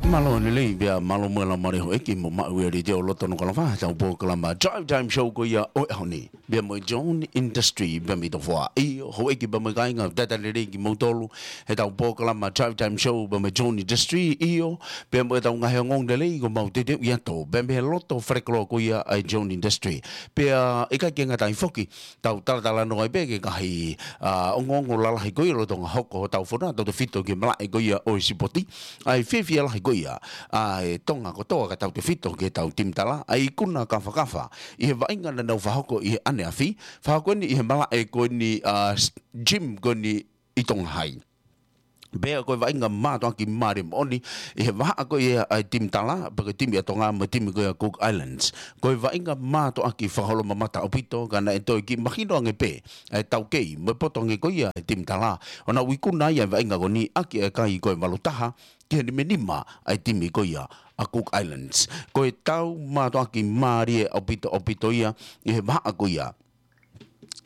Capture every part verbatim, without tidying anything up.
Mālō e lelei, pea mālō mo e laumālie houʻeiki mo maʻu e letiō loto Nukuʻalofa, heʻetau polokalama Drive Time Show ko ia ʻo e ʻaho ni. Pea mo e John Industry pea mei Tofoa. ʻIo, houʻeiki pea mo e kāinga, talitali lelei kimoutolu, heʻetau polokalama Drive Time Show pea mo e John Industry, ʻio, pea mo ʻetau ngaahi ongoongo lelei kuo mau teuteuʻi atu. Pea mei he loto falekoloa ko ia ʻa e John Industry. Pea ʻikai ke ngata ai foki, tau talatalanoa ai pē ki he ngaahi, ʻa, ongoongo lalahi ko ia lolotonga hoko hotau fonua, tautefito ki he malaʻe ko ia ʻo e sipoti. ʻA e fiefia lahi ko ia ʻa e Tonga kotoa ka tautefito ki heʻetau timi tala, ʻa e ikuna kafakafa ʻi he vaʻinga naʻa nau fakahoko ʻi he ʻaneafi, fakahoko eni ʻi he malaʻe ko eni, ʻa, s-, gym ko eni ʻi Tonga Hai. Pea ko e vaʻinga mātuʻaki mālie moʻoni ʻi he vahaʻa ko ia ʻa e timi tala, pea ko e timi ʻa Tonga mo e timi ko ia Cook Islands. Ko e vaʻinga mātuʻaki fakaholomamata ʻaupito, ka naʻe toe kiʻi mahino ange pē ʻa e taukei mo e poto ange ko ia ʻa e timi tala, ʻo nau ikuna ai ʻa e vaʻinga ko eni ʻaki ʻa e kai ko e valu taha ki he nima nima ʻa e timi ko ia ʻa Cook Islands. Ko e tau mātuʻaki mālie ʻaupito, ʻaupito ia ʻi he vahaʻa ko ia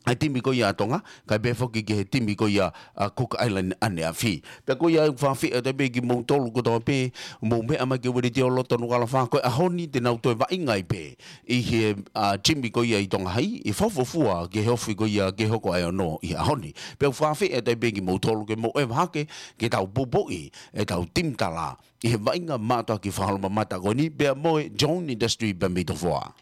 ʻa e timi ko ia ʻa Tonga, kae pehē foki ki he timi ko ia ʻa Cook Island ʻaneafi. Pea ko ia ʻoku ou fakaafeʻi atu pē kimoutolu kotoa pē, mou meʻa mai ki he letiō loto Nukuʻalofa, ko e ʻaho ni te nau toe vaʻinga ai pē ʻi he, ʻa, gym ko ia ʻi Tonga Hai, ʻi he fuofua ki he ofi ko ia ke hoko ʻa e ono ʻi he ʻaho ni. Pea ʻoku ou fakaafeʻi atu pē kimoutolu ke mou ʻeva hake, ke tau poupouʻi ʻetau timi tala ʻi he vaʻinga mātuʻaki fakaholomamata ko eni, pea mo e John Industry pea mei Tofoa.